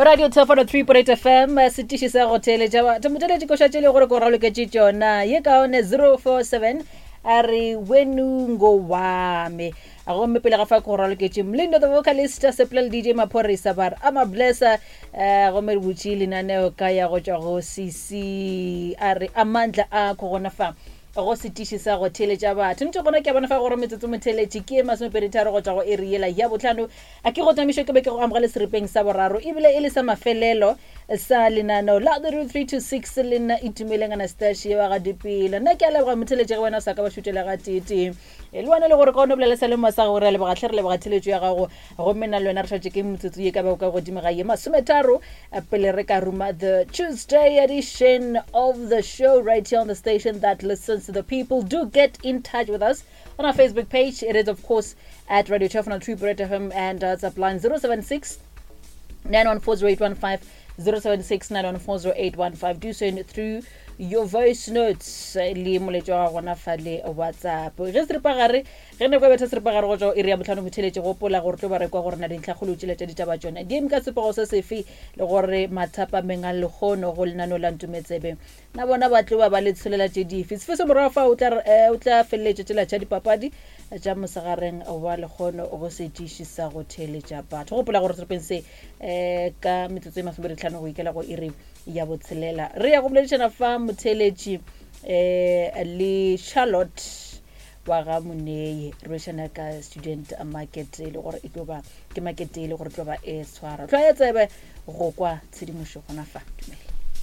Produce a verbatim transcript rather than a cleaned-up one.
Radio Thefolo three point eight F M, setiši sa go theeletša batho. Motheeletši koša tše le gore ko raloketše tšona. Ye kaone zero four seven a re wenungo wame. A gomme pele ga fa ko raloketše Mlindo the vocalist, Sepela le D J Maphorisa ba re ama blessa, eh, gomme re butše lenaneo ka ya go tšwa go C C a re amandla a ko gona fa go setiši sa go theeletša batho. Ntse gona ke a bona fa gore metsotso motheeletši ke e masomepedi tharo go tšwa go iri yela ya bohlano. A ke go tamišo ke be ke go amogele seripeng sa boraro ebile e le sa mafelelo sa lenaneo la the root three two six le nna Itumeleng Anastasia wa ga Dipela. Nna ke a leboga motheeletši ge wena o sa ka ba šutela ga tee-tee. E, le wena le gore ka o no bolela sa le mo sa gore a leboga hle, re leboga theeletšo ya gago. Gomme nna le wena re šetše ke metsotso ye ka bago ka godimo ga ye masometharo pele re ka ruma the Tuesday edition of the show right here on the station that listens to the people. Do get in touch with us on our Facebook page. It is of course at Radio Thefolo three point eight F M and, uh, WhatsApp line zero seven six nine one four zero eight one five, zero seven six nine one four zero eight one five. Do send through your voice notes le moletšo wa gona fa le WhatsApp. Ge seripagare, ge nako e betha seripagare go tšwa iri ya bohlano motheeletši, gopola gore tlo ba re kwa gore na dintlhakgolo tšela tša ditaba tšona di eme ka sepego se sefe, le gore mathapameng a lekgono go lenaneo la Ntometsebe na bona ba tlo ba ba le tsholela tše dife. Sefe se morago fa o tla, eh, o tla feleletša tšela tša dipapadi tša mosegareng wa lekgono go setiši sa go theeletša batho. Gopola gore seripeng se, eh, ka metsotso e masomepedi hlano go ikela go iri ya botshelela re ya go boledišana fa motheeletši, eh, le Charlotte wa ga Monei. Re boledišana ka student market e le gore e tlo ba ke market e le gore e tlo ba e tshwara. Hlwaya tsebe go kwa tshedimošo gona fa. Dumela.